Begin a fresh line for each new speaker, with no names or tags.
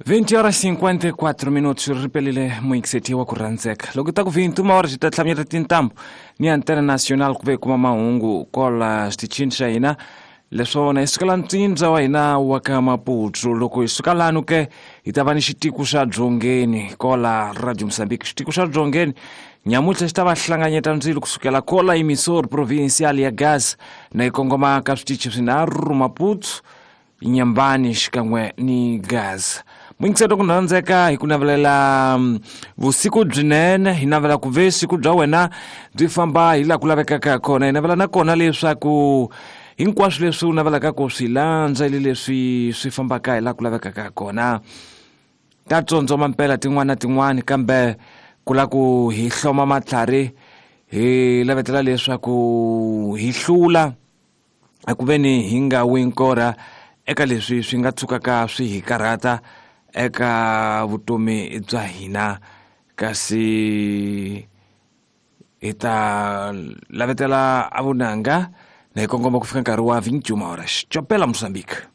20 horas 54 minutos ri pelile muyingiseti wa ku rhandzeka loko ta ku 21 horas hi ta tlhamyeta tintambu ni antena national ku ve kuma mahungu kola xitichini xa hina. Leswona hi sukela ntsindza wa hina wa ka Maputo. Loko hi suka lano ke hi ta va ni xitiko xa Dzongeni kola Radio Mozambique. Xitiko xa Dzongeni nyamuntlha xi ta va hlanganyeta ndzilo kusukela kola emisor provincial ya Gaza na yi kongoma ka switichi swinharhu, Maputo, Nyambani xikan'we ni Gaza. Muyingiselo ku rhandzeka, hi ku navelela vusiku byinene. Hi navela ku ve siku bya wena byi famba hi laha ku lavekaka kona. Hi navela nakona leswaku hinkwaswo leswi u navelaka ku swi landza ile leswi swi fambaka hi laha ku lavekaka kona. Ta tsondzoma mpela tin'wana na tin'wana, kambe ku la ku hi hloma matlhari hi lavetela leswaku hi hlula eku veni hi nga wi nkorha eka leswi swi nga tshukaka swi hi karhata eka vutomi bya hina. Kasi hi ta lavetela a vunanga na hi kongoma ku fika nkarhi wa 21 horas. Chopela Mozambique.